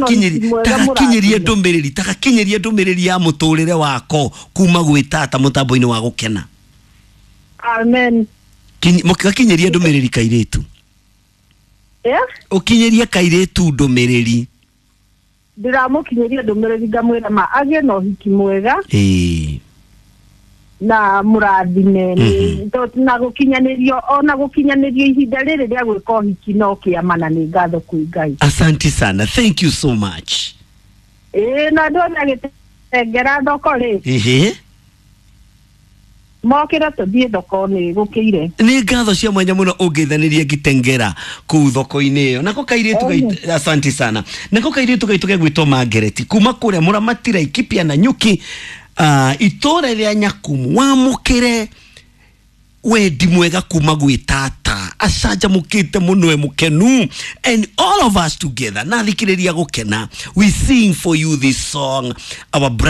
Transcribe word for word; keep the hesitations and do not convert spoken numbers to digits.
Tagakinyirie ndũmĩrĩri, tagakinyirie ndũmĩrĩri ya mũtũrĩre wako kuma gwĩ tata mũtambo-inĩ wa gũkena. Amen. Gakinyirie ndũmĩrĩri kairĩtu. Yeah? Ũkinyĩrie kairĩtu ndũmĩrĩri. Ndĩramũkinyĩria ndũmĩrĩri, ngamwĩra ma agĩe na ũhiki mwega Ĩĩ. na mũrathime mm -hmm. na gũkinyanĩrio, ona gũkinyanĩrio ihinda rĩrĩ rĩa gwĩka ũhiki no kĩama, na nĩ ngatho kwĩ Ngai. Asante sana, thank you so much. Ĩĩ, na andũ othe agĩtengera thoko rĩ, Ĩhĩ. mokĩre tũthiĩ thoko, nĩ gũkĩire. Nĩ ngatho cia mwanya mũno ũngeithanĩria ngitengera kũu thoko-inĩ ĩyo. Nako kairĩtu gaitũ, asante sana, nako kairĩtu gaitũ gegwĩtwo Margaret kuma kũrĩa mũramatira Ikipia na Nyuki, uh, itũra rĩa Nyakumu, wamũkĩre wendi mwega kuma gwĩ tata, acanjamũkĩte mũno, e mũkenu, and all of us together na thikĩrĩria gũkena, we sing for you this song, our